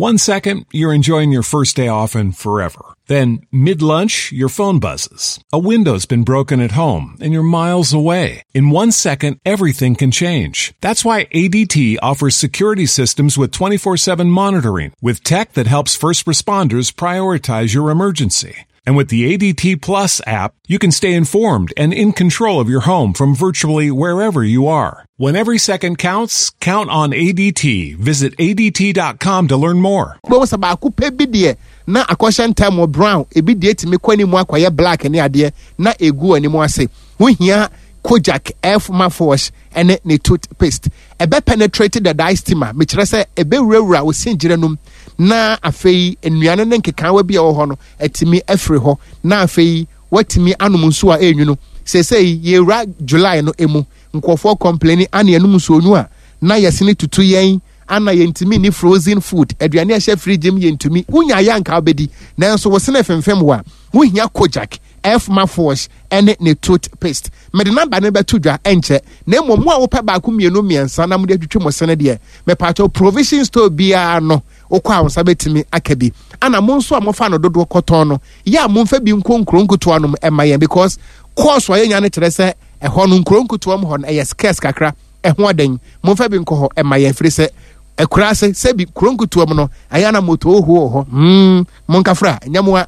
One second, you're enjoying your first day off and forever. Then, mid lunch, your phone buzzes. A window's been broken at home and you're miles away. In 1 second, everything can change. That's why ADT offers security systems with 24/7 monitoring, with tech that helps first responders prioritize your emergency. And with the ADT Plus app, you can stay informed and in control of your home from virtually wherever you are. When every second counts, count on ADT. Visit ADT.com to learn more. Bɛhu sɛ baako pɛ bi deɛ na akɔhyɛ ntam brown, ebi deɛ tumi kɔ anim akɔyɛ black ne adeɛ na egu anim ase. Wohia Kojak F mouthwash ɛne ne toothpaste. Ɛbɛ penetrate the diastema, mekyerɛ sɛ ɛbɛwurawura wo singyerɛ nom na afei nnuane ne nkekaawa bi a ɛwɔ hɔ no atumi afiri hɔ na afei watumi anom nsuo a ɛnwunu. Seesei yɛwura July no emu, nkurɔfoɔ complain ane ɛnum nsuo nwu a na yɛsene tutu yɛn ana yɛntumi ni frozen food, aduane a ɛhyɛ fridge mu yɛntumi. Wonya yɛ anka wobɛdi, nanso wo sene femfem wo a, wohia Kojak F mouthwash ɛne ne toothpaste. Mede number no bɛto dwa ɛnkyɛ, na mmom mo a wopɛ baako, mmienu, mmiɛnsa na mode atwitwi mo sene deɛ, mepatɔ provision store biara no wokɔ a wo nsa bɛtumi aka bi. Ana mo nso a mofa no dodoɔ kɔtɔn no yɛ a, momfa bi nkɔ nkuro nketewa nom ɛma yɛn, because course a yɛnya no kyerɛ sɛ ɛhɔ no, nkuro nketewa mu hɔ no, ɛyɛ scarce kakra. Ɛho ɔden, momfa bi nkɔ hɔ ɛma yɛn, firi sɛ akura ase sɛbi kuro nketewa mu no ɛyɛ na moto oho wɔ hɔ. Monkafra nyɛmoa.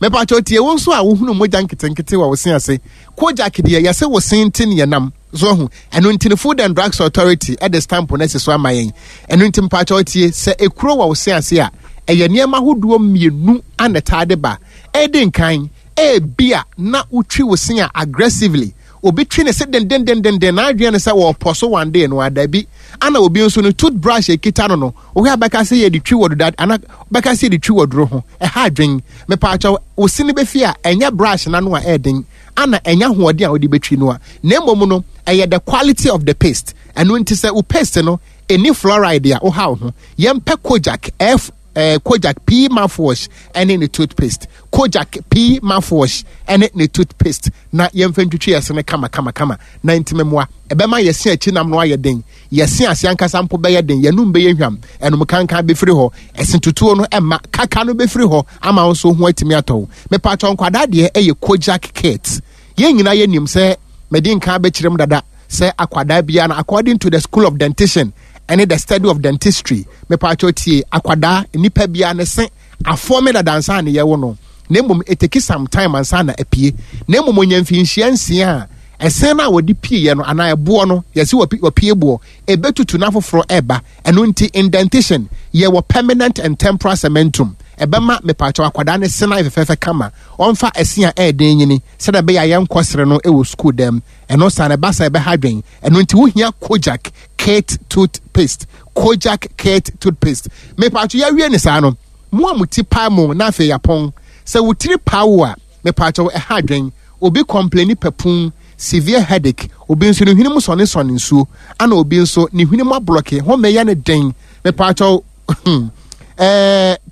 Mepatwa tie, wo nso a wohunu mogya nketenkete wɔ wo se ase, Kojak deɛ yɛsɛ wo se nte ne yɛnam so ahu. Ɛno nti no Food and Drugs Authority ɛde stamp no asi so ama yɛn. Ɛno nti mpatwa tie, sɛ ekuro wɔ wo se ase a, ɛyɛ nneɛma ahodoɔ mmienu ana taa de ba. Ɛdi nkan, ebia na wotwi wo se a aggressively. Obi twi ne se dendendendenden na adwene no sɛ wɔpɔ so one day no adabi. Ana obi nso no toothbrush ekita no, wohwɛ abɛka sɛ yɛde twi wɔ deda ana bɛka sɛ yɛde twi wɔ duro ho. Ɛha adwen. Mepaakyɛw, wo se no bɛfi a, ɛnyɛ brush n'ano a ɛɛden ana ɛnyɛ ahoɔden a wode bɛtwi no a, na mmom no ɛyɛ the quality of the paste. Ɛno nti sɛ wo paste no ɛni fluoride a, woha wo ho. Yɛmpɛ Kojak F Kojak P mouthwash ɛne ne toothpaste, Kojak P mouthwash ɛne ne toothpaste, na yɛmfa ntwitwi yɛse no kama kama kama na ntumi mmoa. Ɛbɛma yɛse akyi nam no ayɛ den, yɛse ase ankasa mpo bɛyɛ den, yɛnum bɛyɛ hwam, ɛnum kankan bɛfiri hɔ, ɛse tutuo no ɛma kaka no bɛfiri hɔ ama wo nso ho atumi atɔ wo. Mepatwɔ, nkwadaa deɛ ɛyɛ Kojak Kids. Yɛn nyinaa yɛnim sɛ mɛdi nkan bɛkyerɛ mu dada sɛ akwadaa biara no, according to the school of dentition ɛne the study of dentistry, mepatwɔ tie, akwadaa nipa biara ne se afɔme dada ansa ne yɛwo no, na mmom ɛtake some time ansa na apue. Na mmom onya mfinhyia 6 a, ɛsɛn no a wɔde pieɛ no anaa ɛboɔ no yɛsi wɔpie boɔ ɛbɛtutu na foforɔ ɛba. Ɛno nti in dentition yɛwɔ permanent and temporal cementum. Ɛbɛma mepatwɔ akwadaa ne sena fɛfɛɛfɛ kama. Ɔmfa ɛse a ɛɛden nyini sɛdeɛ ɛbɛyɛ a yɛnkɔ sere no ɛwɔ sukuu dɛm. Ɛno saa na ɛba sa ɛbɛha dwen. Ɛno nti wohia Kojak Kit toothpaste, Kojak Kit toothpaste. Mepatwɔ, yɛawie ne saa no, mo a mo ti pae mo na afei yɛapɔn sɛ wo tiri paa wo a, mepatwɔ, ɛha adwen. Obi complain pɛpun, severe headache, obi nso ne hwene mu sɔne nsuo, ana obi nso ne hwene mu ablock, home yɛ ne den. Mepatwɔ,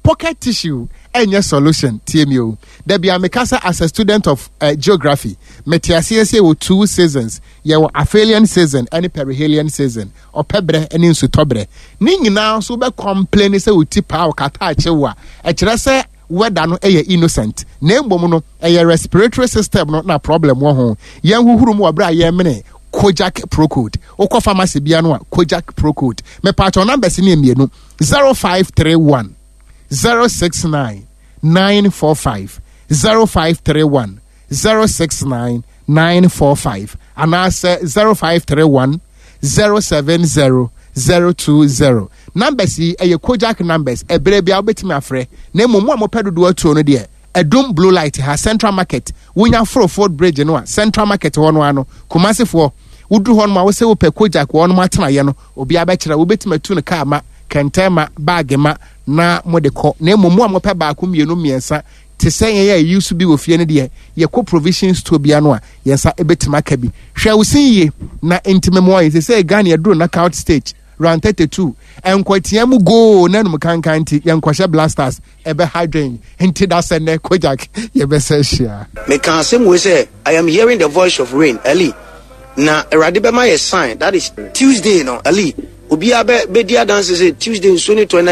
pocket tissue ɛnyɛ solution. Tie mi o, dabi a meka sɛ as a student of geography, mete aseɛ sɛ wɔ two seasons: yɛwɔ aphelion season ɛne perihelion season, ɔpɛ berɛ ne nsutɔ berɛ. Ne nyinaa nso wobɛ complain sɛ wo ti paa wo kata akye wo a, ɛkyerɛ sɛ weather no ɛyɛ innocent, na mmom no ɛyɛ respiratory system no na problem wɔ ho. Yɛn huhuru mu wɔ berɛ a yɛmene Kojak Procold. Wokɔ pharmacy bia no a, Kojak Procold. Mepatwɔ, numbers ne mmienu: 0531 069 945, 0531 069 945, anaasɛ 0531 070 020. Numbers yi ɛyɛ Kojak numbers. Ɛberɛ bia wobɛtumi afrɛ, na mmom mo a mopɛ dodoɔ atuo no deɛ, Ɛdum Blue Light ha, Central Market, wonya foro Ford Bridge no a, Central Market hɔ no ano. Kumasefoɔ, woduru hɔ nom a, wosɛ wopɛ Kojak wɔ nom atenaeɛ no, obiara bɛkyerɛ. Wobɛtumi atu no kaa ma kɛntɛn ma bag ma na mode kɔ. Na mmom mo a mopɛ baako, mmienu, mmiɛnsa te sɛ yɛn a yɛyi so bi wɔ fie no deɛ, yɛkɔ provision store bia no a, yɛn nsa bɛtumi aka bi. Hwɛ wo sin yie na ntumi mmoa yɛn. Sɛ Ghana yɛduru knockout stage, round 32, nkɔtea mu goal na num kankan nti yɛnkɔhyɛ Blasters, ɛbɛha dwen. Nti da sɛ nnɛ Kojak yɛbɛsɛ hyia. Meka asɛm wei sɛ I am hearing the voice of rain Ali, na Awurade bɛma yɛ sign, that is Tuesday no. Ali, obiara bɛ bɛdi adanse sɛ Tuesday nsuo ne tɔ na